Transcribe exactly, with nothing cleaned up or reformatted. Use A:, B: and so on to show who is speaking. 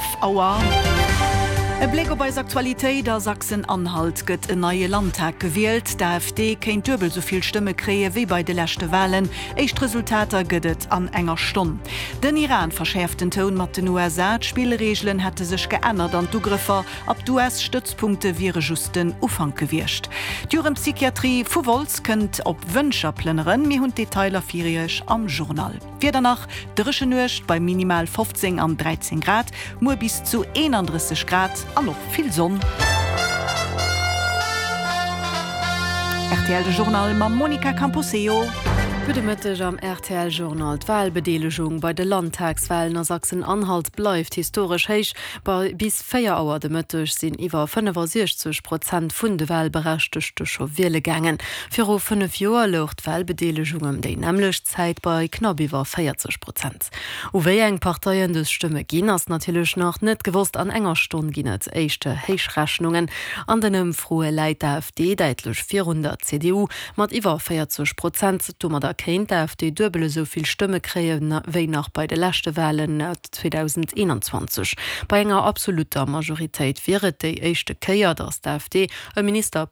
A: Hallef Auer. E Bléck op eis Aktualitéit, A Sachsen-Anhalt gëtt en neie Landtag gewielt. D'AfD kéint duebel esou vill Stëmme kréie wéi bei de leschte Walen. Éischt Resultater gëtt et an enger Stonn. Den Iran verschäerft den Toun mat den U S A. D'Spillreegelen hätte sech geännert an d'Ugrëffer op d'U S-Stëtzpunkte wiere just den Ufank gewiescht. D'Jugendpsychiatrie vu Wolz kënnt op Wëncher plënneren. Mir hunn d'Detailer fir Iech am Journal. Wieder nach, dréchen Nuecht bei minimal fofzéng an dräizéng Grad, muer bis zu eenandrësseg Grad an och vill Sonn. R T L de Journal mam Monica Camposeo.
B: Gudde Mëtteg am R T L Journal. D'Walbedeelegung bei de Landtagswalen a Sachsen-Anhalt bleift historesch héich. Bei bis véier Auer de Mëtteg sinn iwwer fënnefasiechzeg Prozent vun de Walberechtegte scho wiele gaangen. Viru fënnef Joer louch d'Walbedeelegung ëm déi nämmlecht Zäit bei knapp iwwer véierzeg Prozent. U wéi eng Parteien dës Stëmme ginn, ass natierlech nach net gewosst. An enger Stonn ginn et éischt Héichrechnungen. An den Ëmfroe läit d'A F D däitlech virun der C D U mat iwwer véierzeg Prozent. Domadder kéint d'A F D duebel esou vill Stëmme kréien wéi nach bei de leschte Walen zweedausendeenanzwanzeg. Bei enger absolutter Majoritéit wier et déi éischte Kéier, datt d'A F D e Ministerpresident